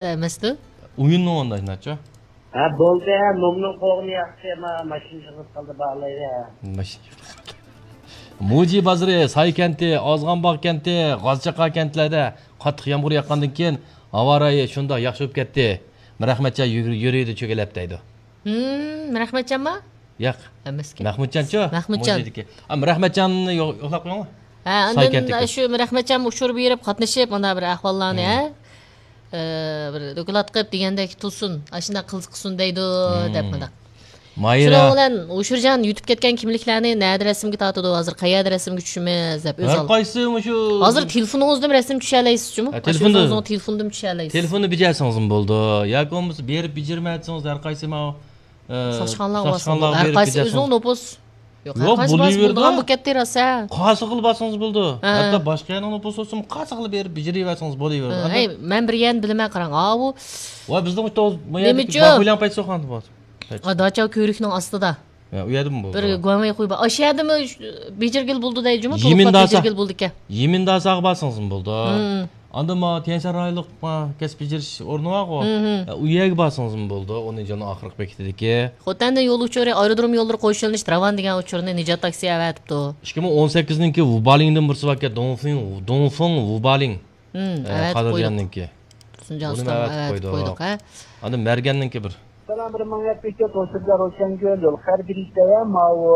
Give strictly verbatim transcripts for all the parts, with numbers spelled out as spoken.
ئەمەستۇ؟ ئويۇننىڭ ئۇنداق ناچو. ھە، بولدى، ھە، نومنىڭ قوغۇنى ياقتى، ما-، ماشىنا يىغىلىپ قالدى، باغلايلى، ھە. ماشىنا يىغىلىپ قالدى. موجى بازىرى، ساي كەنتى، ئازغانباغ كەنتى، غازچاقا كەنتلەردە قاتتىق يامغۇر ياغقاندىن كېيىن، ھاۋا رايى شۇنداق ياخشى بولۇپ كەتتى. مىرئەخمەتجان يۈر-، يۈرىدە چۆگىلەپ دەيدۇ. ھىم، مىرئەخمەتجانما؟ ياق. ئەمەسكەن. مەخمۇتجانچۇ؟ مەخمۇتجان. موزىيدىكى. ئا، مەخمۇتجاننى يو-، يوقلاپ قويۇڭ. ھە، ساي ئاندىن كەنتىكى. شۇ مەخمۇتجان ئۇچۇر بېرىپ قاتنىشىپ، مانا بىر ئەھۋاللارنى، ھە، ئە، بىر دوكلات قىلىپ دېگەندەك تۇرسۇن، ئاشۇنداق قىلسا قىلسۇن دەيدۇ، دەپ مۇنداق. ماھىرە. شۇنىڭ بىلەن ھوشۇرجان يۇتۇپ كەتكەن كىملىكلەرنى نەدە رەسىمگە تارتىدۇ، ھازىر قەيەردە رەسىمگە چۈشىمىز دەپ ئۆزى ھەر قايسى مۇشۇ ھازىر تېلېفونىڭىزدىن رەسىم چۈشەلەيسىز جۇمۇ. ھە، ئاشۇ تېلېفوندا. ئۆزىڭىزنىڭ تېلېفوندىن چۈشەلەيسىز. تېلېفوننى بېجەرسىڭىزمۇ بولىدۇ. ياكى بولمىسا بېرىپ بېجىرمەي ئەتسىڭىز ھەر قايسى ماۋۇ ئە، ساقچىخانىلارغا بارسىڭىز بولىدۇ. ساقچىخانىلارغا ھەر بېرىپ قايسى بېجەرسىڭىز. ئۆزىنىڭ نوپۇس. يوق، ھەر قايسى بارسا بولىدىغان بولۇپ كەتتى راست، ھە. قايسى قىلىپ بارسىڭىز بولىدۇ. ھە. ھەتتا باشقا يەرنىڭ نوپۇسى بولسىمۇ قايسى قىلىپ بېرىپ بېجىرىۋەرسىڭىز بولۇۋېرىدۇ. ھە، ئەي، مەن بىر يەرنى بىلىمەن، قاراڭ. ئاۋۇ ۋاي، بىزنىڭ ئۇ نېمىچۇ؟ باكۇليان پەيتسوخان بار. ھە، داچا كۆۋرۈكنىڭ ئاستىدا. ھە، ئۇ يەردىمۇ بولىدۇ. بىر گۇاڭۋېي خۇي بار. ئاشۇ يەردىمۇ بېجىرگىلى بولىدۇ دەيدۇ جۇمۇ، توققۇز بېجىرگىلى بولىدىكەن. يىمىنداساغا بارسىڭىزمۇ بولىدۇ. ھىم. ئاندىن ما تيەنشان رايونلۇق ما كەسىپ بېجىرىش ئورنى بارغۇ. ھىم، ھىم. ئە، ئۇ يەرگە بارسىڭىزمۇ بولىدۇ. ئۇنى جانا ئاخىرقى بېكىتىدىكى. خوتەندە يول ئۇچۇرى، ئايرودروم يوللىرى قوشۇلۇشتا راۋان دېگەن ئۇچۇرنى نىجات تاكسى ئەۋەتىپتۇ. ئىككى مىڭ ئون سەككىزنىڭكى ۋۇبالىڭدىن بىرسى باركەن، دۇڭفېڭ، دۇڭفېڭ ۋۇبالىڭ. ھىم، ئە، ئەۋەتىپ قادىرجاننىڭكى. قويدۇق. تۇرسۇنجان ئۇستام ئەۋەتىپ قويدۇق، ھە. ئاندىن مەرگەننىڭكى بىر. سالام، بىر مىڭ يەتمىش تۆت، ھوشۇرجان روشەنگۈل، يول خەرىدىرى دەۋە، ماۋۇ،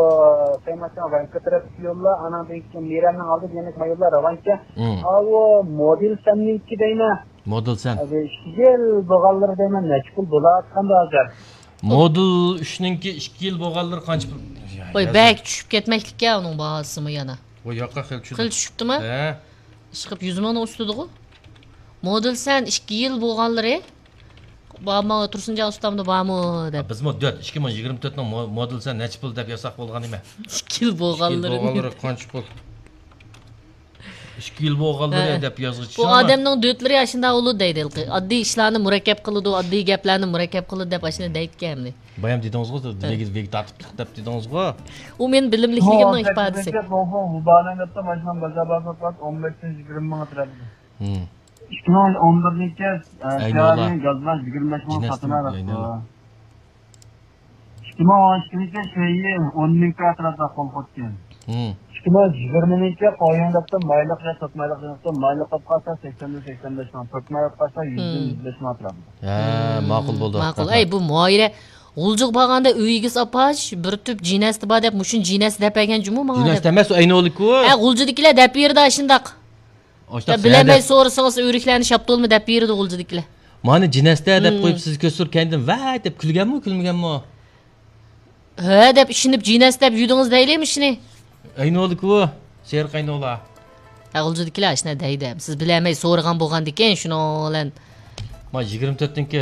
سەيمەچان ۋەنكە تەرەپتىكى يوللار، ئاناندىن كېيىن مىرەننىڭ ئالدىدا يەنە ما يوللار راۋانكەن. ھىم. ئاۋۇ مودېل سەننىڭكى دەيمەن. مودېل سەن. ئىككى يىل بولغانلىرى دەيمەن، نەچچە پۇل بولۇۋاتقاندۇ ھازىر؟ مودېل ئۈچنىڭكى ئىككى يىل بولغانلىرى قانچە پۇل؟ ۋاي، بەك چۈشۈپ كەتمەكلىككەن ئۇنىڭ باھاسىمۇ يەنە. ۋاي، ياقا خېلى چۈشتى. خېلى چۈشۈپتىما؟ ھە. ئىشقىلىپ يۈز مىڭنى ئۈستىدىغۇ. مودېل سەن ئىككى يىل بولغانلىرى بارمۇ، تۇرسۇنجان ئۇستامدا بارمۇ دەپ. بىزمۇ دۆت، ئىككى مىڭ يىگىرمە تۆتنىڭ مو-، مودېل سەن نەچچە پۇل دەپ يازساق بولغان نېمە؟ ئىككى يىل بولغانلىرى. ئىككى يىل بولغانلىرى قانچە پۇل؟ ئىككى يىل بولغانلىرى ھە. دەپ يازغۇچە بۇ ئادەمنىڭ دۆتلىرى ئاشۇنداق بولىدۇ دەيدۇ ھېلىقى. ئاددىي ئىشلارنى مۇرەككەپ قىلىدۇ، ئاددىي گەپلەرنى مۇرەككەپ قىلىدۇ دەپ ئاشۇنداق دەيدىكەن ئەمدى. بايام دېدىڭىزغۇ، ھە. ۋېگ، ۋېگ تارتىپتۇق دەپ دېدىڭىزغۇ. ئۇ مېنىڭ بىلىملىكلىكىمنىڭ ئىپادىسى. مۇبالىغە قىلىپ ماشىنا بازار بازار قىلىپ ئون بەشتىن يىگىرمە مىڭ ئەتراپىدا. ھىم. ئىككى مىڭ ئون بىرنىڭكى، ئە، ئەينۇلا. فېررارىنى گازلاش يىگىرمە بەش مىڭ جىنەستىن ساتىنا ئەينۇلا. ئىككى مىڭ ئون ئىككىنچى شېيى ئون مىڭ ئەتراپىدا قول قويۇپتىكەن. ھىم. ئىككى مىڭ يىگىرمىنىڭكى قويۇڭ دەپتۇ، مايلىق يا تۆت مايلىق دەپتۇ، مايلىق قىلىپ قالسا سەكسەندىن سەكسەن بەش مىڭ، تۆت مايلىق قالسا يۈزدىن ھىم. يۈز بەش مىڭ ئەتراپىدا. ھە، ھىم، ماقۇل بولدى. ماقۇل. ئەي، بۇ مۇئايرە غۇلجىغا بارغاندا ئۆيىگىز ئاپاش، بىر تۈپ جىنەستى بار دەپ، مۇشۇنى جىنەستى دەپ بەرگەن جۇمۇ ماڭا دەپ. جىنەستى ئەمەس، ئەينۇلىكۇ. ھە، غۇلجىدىكىلەر دەپ بېرىدۇ ئاشۇنداق. ئاشۇنداق يا بىلەلمەي سورىسىڭىز ئۆرۈكلەرنى شاپتۇلمۇ دەپ بېرىدۇ غۇلجىدىكىلەر. مانا جىنەستە دەپ ھىم. قويۇپ سىز كۆستۈرۈپ كەينىدىن ۋەي دەپ كۈلگەنمۇ، كۈلمىگەنمۇ؟ ھە دەپ ئىشىنىپ جىنەس دەپ يۈدىڭىز دەيلى مۇشۇنى. ئەينۇلىكۇ، سېرىق ئەينۇلا. ھە، غۇلجىدىكىلەر ئاشۇنداق دەيدۇ. سىز بىلەلمەي سورىغان بولغاندىكىن شۇنىڭ بىلەن. ما يىگىرمە تۆتتىنكى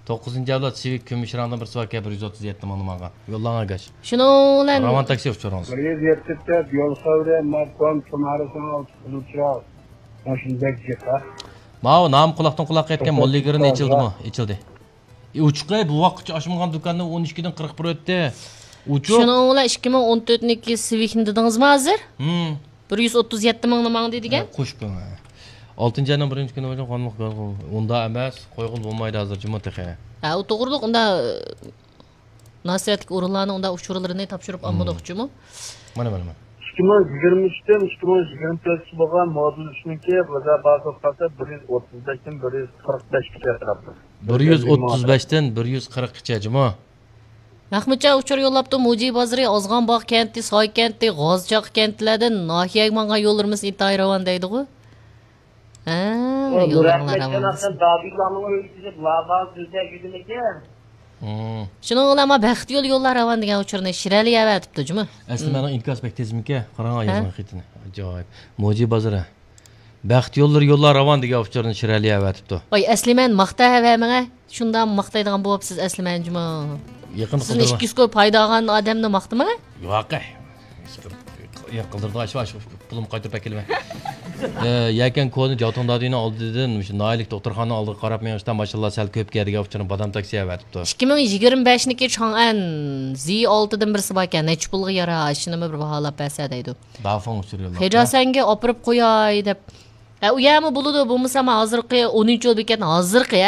توققۇزىنچى ئەۋلاد سىۋىك كۈمۈش رەڭدىن بىرسى باركەن، بىر يۈز ئوتتۇز يەتتە مىڭنى ماڭغان. يوللاڭ ئاكاش. شۇنىڭ بىلەن راۋان تاكسى ئۇچۇرىڭىز. بىر يۈز يەتتە دۆت يول خەۋىرى، ماكوم، تۇمارىسىنىڭ ئالتە قىزىل چىراغ. ماشىنا بەك جىق، ھە؟ ماۋۇ نامى قۇلاقتىن قۇلاققا يەتكەن موللىگىرىنى ئېچىلدىمۇ؟ ئېچىلدى. ئى، ئوچۇق ئەي، بۇ ۋاقىتقىچە ئاچمىغان دۇكاننى ئون ئىككىدىن قىرىق بىر ئۆتتى. ئوچۇق. شۇنىڭ بىلەن ئىككى مىڭ ئون تۆتنىڭكى سىۋىكنى دېدىڭىزمۇ ھازىر؟ ھىم. بىر يۈز ئوتتۇز يەتتە مىڭنى ماڭدى دېگەن؟ ھە، قوشۇپ قويۇڭ، ھە. ئالتىنچى ئاينىڭ بىرىنچى كۈنى بولسا قانۇنلۇق گاز قوي-، ئۇنداق ئەمەس، قويغىلى بولمايدۇ ھازىر جۇمۇ تېخى. ھە، ئۇ توغرىلىق ئۇنداق، ئە، مۇناسىۋەتلىك ئورۇنلارنىڭ ئۇنداق ئۇچۇرلىرىنى تاپشۇرۇپ ھىم. ئالمىدۇق جۇمۇ. مانا، مانا، مانا. ئىككى مىڭ يىگىرمە ئۈچتىن ئىككى مىڭ يىگىرمە تۆتكىچە بولغان مودېل ئۈچنىڭكى بازار باھاسى قالسا بىر يۈز ئوتتۇز بەشتىن بىر يۈز قىرىق بەشكىچە ئەتراپىدا. بىر يۈز ئوتتۇز بەشتىن بىر يۈز قىرىققىچە جۇمۇ. مەخمۇتجان ئۇچۇر يوللاپتۇ، موجى بازىرى، ئازغان باغ كەنتى، ساي كەنتى، غازچاق كەنتلەردىن ناھىيەگە ماڭغان يوللىرىمىز ئىنتايىن راۋان دەيدىغۇ. ھە، يوللىرىڭلار راۋان بولسۇن. دادىللانىڭ ئۆيىگە كېلىپ، لاۋا سۆزلەپ يۈرگىنىكەن. ھىم. شۇنىڭ بىلەن ما بەخت يولى يوللار راۋان دېگەن ئۇچۇرنى شىرئەلى ئەۋەتىپتۇ جۇمۇ. ئەسلىمەنىڭ ئىنكاس بەك تېزمىكەن، قاراڭ ھە؟ يازغان خېتىنى. ئاجايىپ. موجى بازىرى. بەخت يوللىرى يوللار راۋان دېگەن ئۇچۇرنى شىرئەلى ئەۋەتىپتۇ. ۋاي، ئەسلىمەن ماختاۋەرمەڭە. شۇنداق ماختايدىغان بولۇپسىز ئەسلىمەن جۇمۇ. يېقىندا سىزنى قىلدىرما. ئىككى يۈز كوي پايدا ئالغان ئادەمنى ماختىماڭە. ياق. يېقىن قىلدۇرىدىغان ئىش بار، شۇ پۇلۇمنى قايتۇرۇپ ئەكېلىمەن. ئە، يەكەن كونا جاۋتۇڭ دادىنىڭ ئالدىدىن مۇشۇ ناھىيەلىك دوختۇرخانىنىڭ ئالدىغا قاراپ مېڭىشتا ماشىنىلار سەل كۆپ كەلدىگەن ئۇچۇرنى بادام تاكسى ئەۋەتىپتۇ. ئىككى مىڭ يىگىرمە بەشنىكى چاڭئەن زى ئالتىدىن بىرسى باركەن، نەچچە پۇلغا يارار، شۇنىمۇ بىر باھالاپ بەرسە دەيدۇ. دافاڭ ئۇچۇرى يوللاپتۇ. خېجاسەنگە ئاپىرىپ قوياي دەپ. ھە، ئۇ يەرمۇ بولىدۇ، بولمىسا ھازىرقى ئونىنچى يول بېكەتنىڭ ھازىرقى، ھە،